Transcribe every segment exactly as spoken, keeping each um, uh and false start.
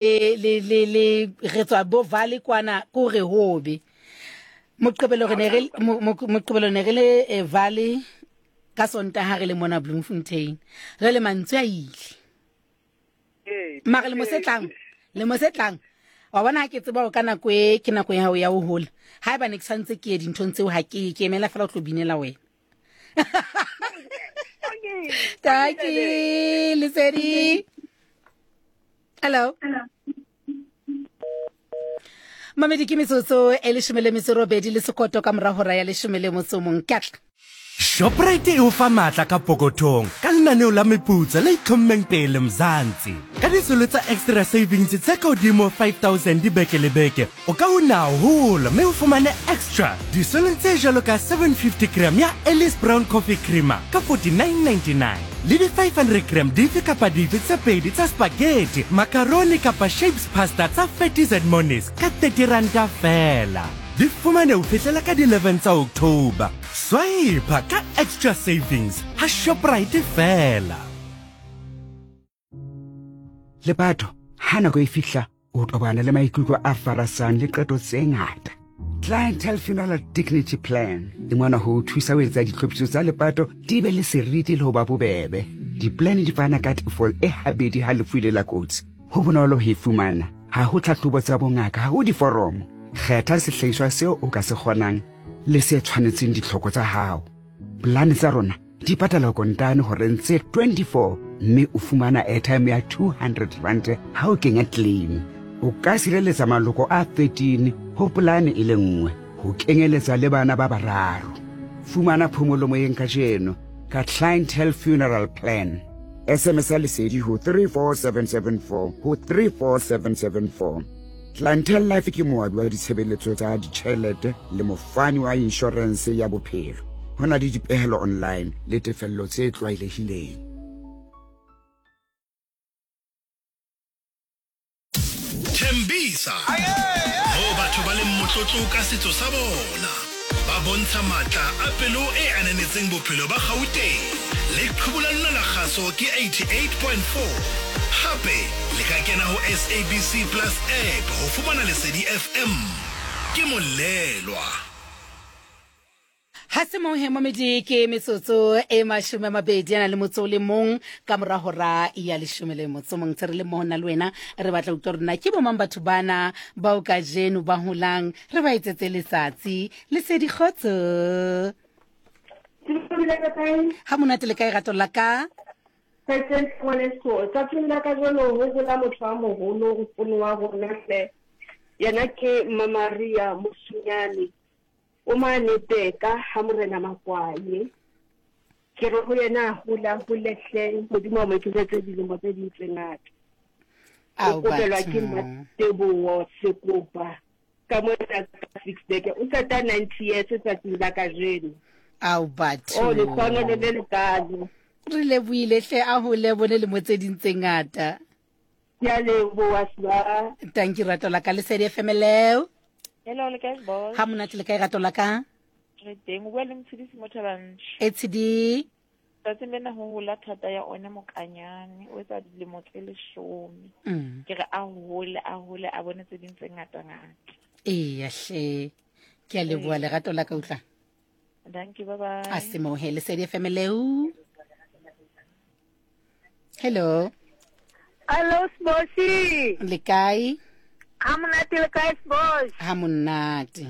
le le le re tswa bo valley kwana ko re hobe. Moqebelo re ne re moqebelo ne re le valley ka Sontaha re le mona Bloemfontein. Re le mantswe a ile. Mara le mosetlang, le mosetlang. Wa bona ha ke tseba hore ka nako e ke nako ya hao ya ho hola. Haeba ne ke santse ke ye dinthong tseo ha ke ke emela fela ho tlo binela wena. Taki Lesedi. Hello. Mamedi ke metsotso e leshome le metso robedi le sekoto ka mora hora ya leshome le motso mong. Ke atla. Shoprite e o fa matla ka pokothong ka lenaneo la meputso le itlhommeng pele Mzansi. Ka disolo tsa extra savings tse ka hodimo five thousand dibeke le beke, o ka una haholo mme o fumane extra disolong tse jwalo ka seven fifty gram ya Ellis Brown Coffee Creamer ka forty-nine ninety-nine le di five hundred gram dife kapa dife tse pedi tsa spaghetti, macaroni kapa shapes pasta tsa Fatties and Monies ka thirty ranta fela. Di fumane ho fihlela ka di eleven tsa October. Swipe ka extra savings ha Shoprite fela. Lepato, ha nako e fihla, o tobana le maikutlo a farasang le qeto tse ngata. Clientele Funeral Dignity Plan e mona ho thusa ho etsa ditlhophiso tsa lepato di be le seriti le ho ba bobebe. Di-plan di fana ka tefo e habedi ha lefu le la kotsi. Ho bonolo ho e fumana, ha ho tlhahlobo tsa bongaka, ha ho diforomo. Kgetha sehlahiswa seo o ka se kgonang le se tshwanetseng ditlhoko tsa hao. Plan tsa rona di patala kontane horeng tse twenty-four mme o fumana airtime ya two hundred rand ha o kenya claim. O ka sireletsa maloko a thirteen ho polane e le nngwe ho kenyeletsa le bana ba bararo. Fumana phomolo moyeng kajeno ka Clientele Funeral Plan. S M S Lesedi ho three four seven seven four ho three four seven seven four. Clientele Life ke moabi wa ditshebeletso tsa ditjhelete le mofani wa inshorense ya bophelo. Ho na le dipehelo online le tefello tse tlwaelehileng. Tembisa. Mo batho ba leng motlotlo ka setso sa bona. Ba bontsha matla a pelo e ananetseng bophelo ba Gauteng. Le qhubu la lona la kgaso ke eighty-eight point four. Hape le ka kena ho S A B C Plus app ho fumana Lesedi F M. Ke molelwa. Ha se mong he momedi ke metsotso e mashome a mabedi a na le motso o le mong ka mora hora ya leshome le motso mong. Tse re le mmoho nna le wena re batla utlwa hore na ke bo mang batho bana bao kajeno ba holang re ba etsetse letsatsi. Lesedi kgotso. Ha monate le kae rato la ka? Tsatsing la kajeno ho hola motho a moholo nkgono wa rona hle. Yena ke Mamaria Mosunyane. O mane Peka ha morena Makwaye. Ke re ho yena hola hole hle Modimo a mo ekeletse dilemo tse ding tse ngata. O kopelwa ke Mateboho Sekopa ka mona six beke o qeta ninety years tsatsing la kajeno. Ao batho. O lehlohonolo le lekalo. Re lebohile hle a hole bone le mo tse ding tse ngata. Ke a leboha swa. Thank you rato la ka. Lesedi F M leo. Hello le kae boss? Ha monate le kae rato la ka? Re teng o bua le Motshidisi Mothabantsho. E tshidi. Tsatsing lena ho hola thata ya ona mokanyane o etsa dilemo tse leshome. Mm. Ke re a hole a hole a bone tse ding tse ngata ngata. Eya hle. Ke a leboha lerato la ka utlwa. Thank you, bye bye. A se mo he Lesedi F M leo. Hello. Hello Sbosi. Le kae? Ha monate le kae Sbosi? Ha monate.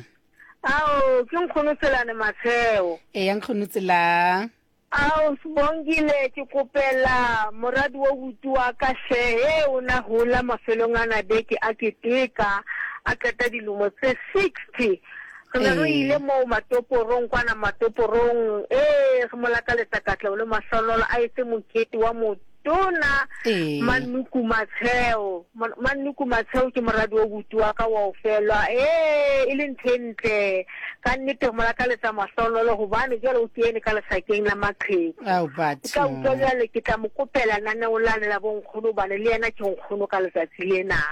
Ao, ke nkgono Tselane Matsheo. E ya nkgono Tsela. Ao Sibongile ke kopela moradi wa buti wa ka hle he o na hola mafelong ana beke a keteka a qeta dilemo tse sixty. Re ne re ile moo matoporong kwana matoporong eh re mo lakaletsa katleho le mahlonolo a etse mokete wa motona Manuku Matsheo. Manuku Matsheo ke moradi wa buti wa ka wa ofelwa eh e le ntho e ntle ka nnete re mo lakaletsa mahlonolo hobane jwale o kene ka lesakeng la maqheku. Ao batho. Ka utlwa jwale ke tla mo kopela naneo lane la bonkgono hobane le yena ke nkgono ka letsatsi lena.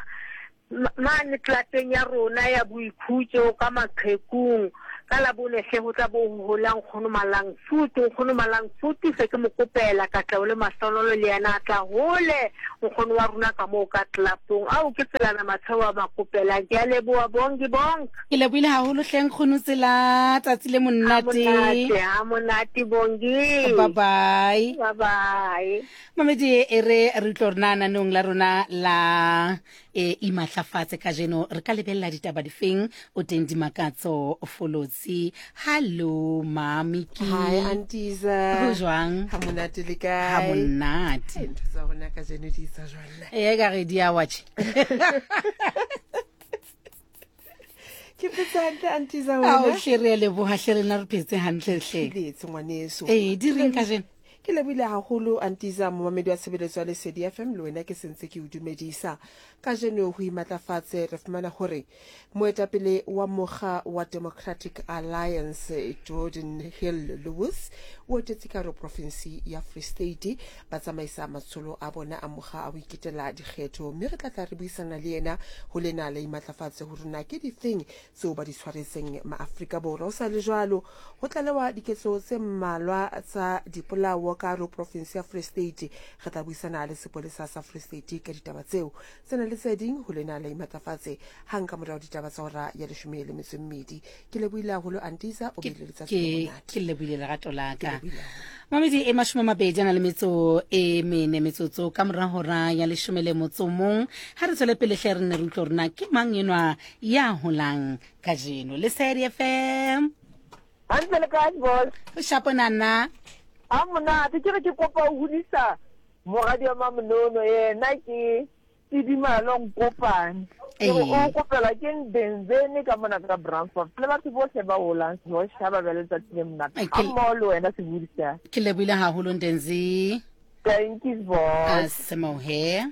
Mane tlateng ya rona ya boikhutso ka maqhekung Ka Labone hle ho tla bo ho hola nkgono Malang Futu, nkgono Malang Futu se ke mo kopela katleho le mahlonolo le yena a tla hole nkgono wa rona ka moo ka tlelapong. Ao ke Tselana Matsheo a makopelang. Ke a leboha Bongi Bonk. Ke lebohile haholo hle nkgono Tsela, tsatsi le Ha monate. monate, ha monate Bongi. Bye bye. Bye bye. Mamedi e re re utlwe rona naneong la rona la e imatlafatse kajeno re ka lebella ditaba difeng o teng Dimakatso Folotsi. Hallo mami ki. Hi Antiza. Ho jwang? Ha monate le kae? Ha monate. Ntho tsa rona kajeno di etsa jwang na? E ka re di a watch. Ke phetse hantle Antiza Ao wena? hle re a leboha hle rena re phetse hantle hle. Phetse ngwaneso. Eh di reng kajeno? Ke lebohile haholo Antiza momamedi wa tshebeletso ya Lesedi F M le wena ke sentse ke o dumedisa. Kajeno ho imatlafatse re fumana hore moetapele wa mokga wa Democratic Alliance Jordan Hill Lewis o etetse ka hare ho province ya Free State ba tsamaisa matsholo a bona a mokga a ho iketela dikgetho, mme re tla tla re buisana le yena ho lena la imatlafatse hore na ke difeng tseo ba di tshwaretseng maAfrika Borwa. Ho sa le jwalo ho tlalewa diketso tse mmalwa tsa dipolao ka hare ho province ya Free State. Re tla buisana le sepolesa sa Free State ka ditaba tseo tsena le tse ding ho lena la imatlafatse hang ka morao ditaba tsa hora ya leshome le metso e mmedi. Ke lebohile haholo Antiza, o Ke bile letsatsi le ke monate. ke lebohile lerato la Ke ka. lebohile haholo. Mamedi e mashome a mabedi a na le metso e mene metsotso ka mora hora ya leshome le motso o mong. Ha re tswele pele hle re nne re utlwe hore na ke mang enwa ya holang kajeno. Lesedi F M. Hantle le kae boss? O shapo nana. Ha monate ke re ke kopa ho hodisa moradi wa Mamonono yena ke Tidimalo Nkopane. Ke re Ee. o kopela ke Ndenzeni ka mona ka Brandfort. Le batho bohle ba holang ho shaba ba letsatsi le monate. Ai, Ha ke mmoho le wena sebudisa. ke lebohile haholo Ndenzi. Thank you boss. A semohe.